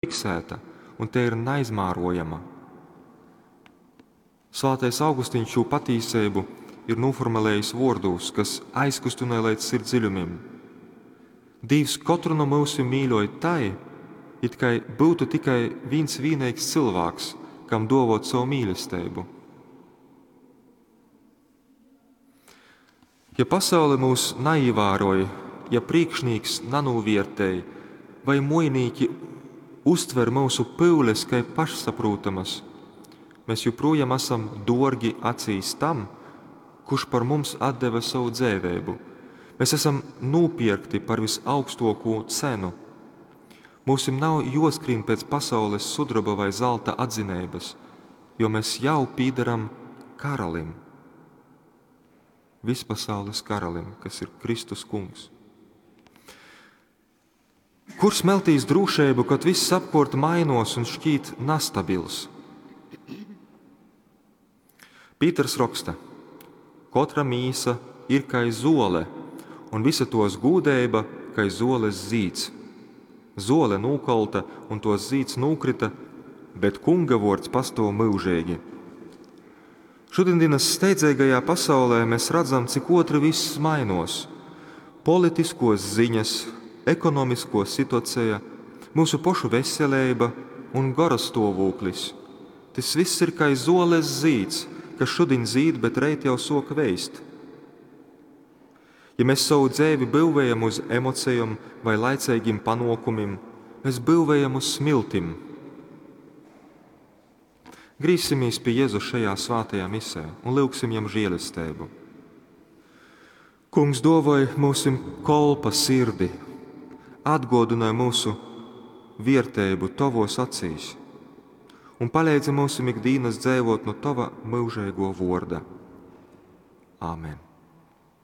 Fiksēta un tei ir naizmērojama. Svātais Augustīns šū patīseibu ir nūformulējis vuordūs, kas aizkustynoj leidz sirds dziļumim. Dīvs kotru no myusim mīļoj tai, it kai byutu tikai vīns vīneigs cylvāks, kam duovot savu mīlesteibu. Ja pasaule mūs naīvāroj, ja prīkšnīks nanūviertej vai muojinīki uztver myusu pyules kai pašsaprūtamas, mēs joprojām esam duorgi acīs tam, kurš par mums atdeva savu dzeiveibu. Mēs esam nūpierkti par visaugstuokū cenu. Mūsim nav juoskrīn pēc pasaules sudraba vai zelta atzineibys, jo mēs jau pīdaram karalim. Vispasaules karalim, kas ir Kristus kungs. Kur smeltīs drūšeibu, kad viss apkort mainos un šķīt nastabils? Pīters roksta: Kotra mīsa ir kai zole, un visa tos gūdeiba kai zoles zīds. Zole nūkolta un tos zīds nūkrita, bet Kunga vuords pastuov myužeigi. Šodienas steidzīgajā pasaulē mēs redzam, cik ātri viss mainos. Politiskos ziņas, ekonomisko situacija, mūsu pošu veselība un gora stāvoklis. Tas viss ir kā zoles zīds, kas šodien zīd, bet reit jau soka veist. Ja mēs savu dzīvi būvējam uz emocijām vai laicīgiem panākumiem, mēs būvējam uz smiltim. Grīsimies pie Jēzus šajā svētajā misē un lūgsim viņam žēlastību. Kungs dovoj mūsim kolpa sirdi, atgodināja mūsu vierteibu tavos acīs un palīdzi mūsim ikdienas dzīvot no tava mūžīgo vorda. Āmen!